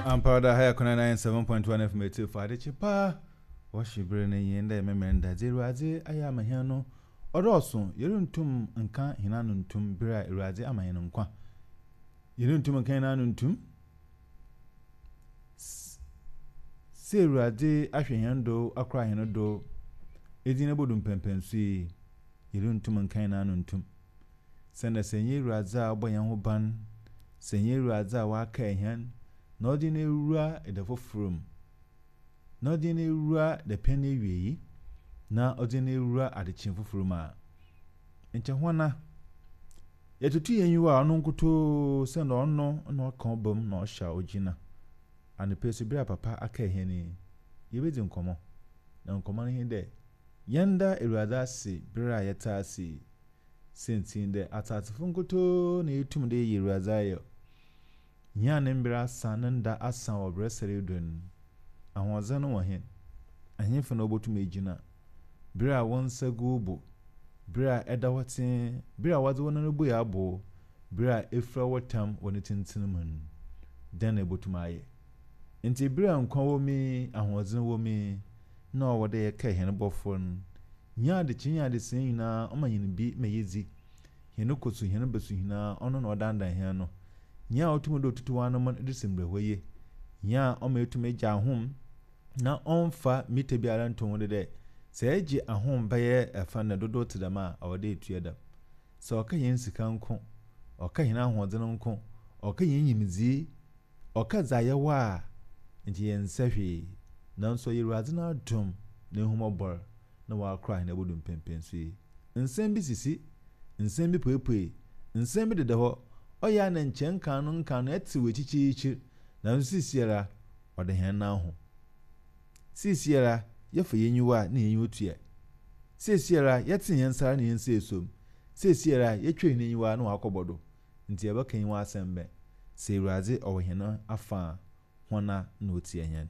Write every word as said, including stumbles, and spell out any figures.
Ampa da ha yɛ kona ninety-seven point one F M etiefo adekye paa wɔhye bere no yɛn dɛ mɛmɛn da dze Awurade ayɛ ama hɛn no ɔdɔɔso. Yɛrentum nka hɛn ano ntum bere a Awurade ama hɛn nkwa. Yɛrentum nka hɛn ano ntum sɛ Awurade ahwɛ hɛn do, akora hɛn do ɛdi no bodu mpɛmpɛnso yi. Yɛrentum nka hɛn ano ntum sɛnɛ sɛ nyɛ Awurade a ɔbɔ yɛn ho ban, sɛ nyɛ Awurade a waka hɛn na ɔde no ewura ɛda foforɔ mu, na ɔde no ewura dapɛn no awie yi, na ɔde no ewura adekye foforɔ mu a nkyɛ hɔna yɛtoto yɛn yiwa a ɔno nkotoo sɛ na ɔno na ɔka ɔba mu na ɔhyɛ a ɔgyina anɔpɛ so. Bere a papa aka hɛn yi, yɛbɛdi nkɔmmɔ, na nkɔmmɔ no hin dɛ yɛnda Awurade ase bere a yɛte ase yi. Sɛntin dɛ atasefo nkotoo na yɛtum de yɛ Awurade ayɛ nyia ne mberɛ asa ne nda asa wɔ berɛ sɛre do no. Ahoɔdzen no wɔ hen ahemfo na wɔbɛtum egyina bere a wɔn nsa gu wo bo, bere a ɛda hɔ tee, bere a wɔdze wɔn nan bue abo, bere a efura wɔ tam wɔ ne tenten mu no, dɛn na ɛbɛtum ayɛ? Nti bere a nkwa wɔ mu yi, ahoɔdzen wɔ mu yi, na ɔwɔ dɛ yɛka hɛn bɔfoɔ no nyɛ adekye nyɛ adesɛn nyinaa. Ɔma hɛn bi ma yɛdzi hɛn kɔ so, hɛn bɛso nyinaa ɔno na ɔdandan hɛn no. Nyɛ a ɔtum dɛ otutu wɔn anam de si mbrɛ hɔ yie, nyɛ a ɔma etum agya ahom na ɔmfa mita biara nto ho de dɛ sɛ ɛgye ahom bɛyɛ ɛfa na dodoɔ te dɛm a ɔwɔ dɛ etua dɛm. Sɛ ɔka yɛn sika nko, ɔka yɛn ahoɔden nko, ɔka yɛn nyimdzee, ɔka dza yɛwɔ a nti yɛn nsa hwee, nanso ɔyɛ Awurade n'adom na ehumɔbɔr na wakora hɛn abodu mpɛmpɛnso yi. Nsɛm bi sisi, nsɛm bi puepue, nsɛm bi deda hɔ, ɔyɛ a na nkyɛn nkan no nkan no ɛte wɔ akyikyiikyir, nanso sisiara ɔde hɛn nan ho. Sisiara yɛfa yɛn nyiwa a na yɛn nyiwa tua. Sisiara yɛte yɛn nsa na yɛn nsa esom. Sisiara yɛtwa yɛn enyiwa na wakɔbɔ do. Nti yɛbɛka yɛn asɛm bɛn? Sɛ Awurade ɔwɔ hɛn afa a, hɔn a na otia hɛn?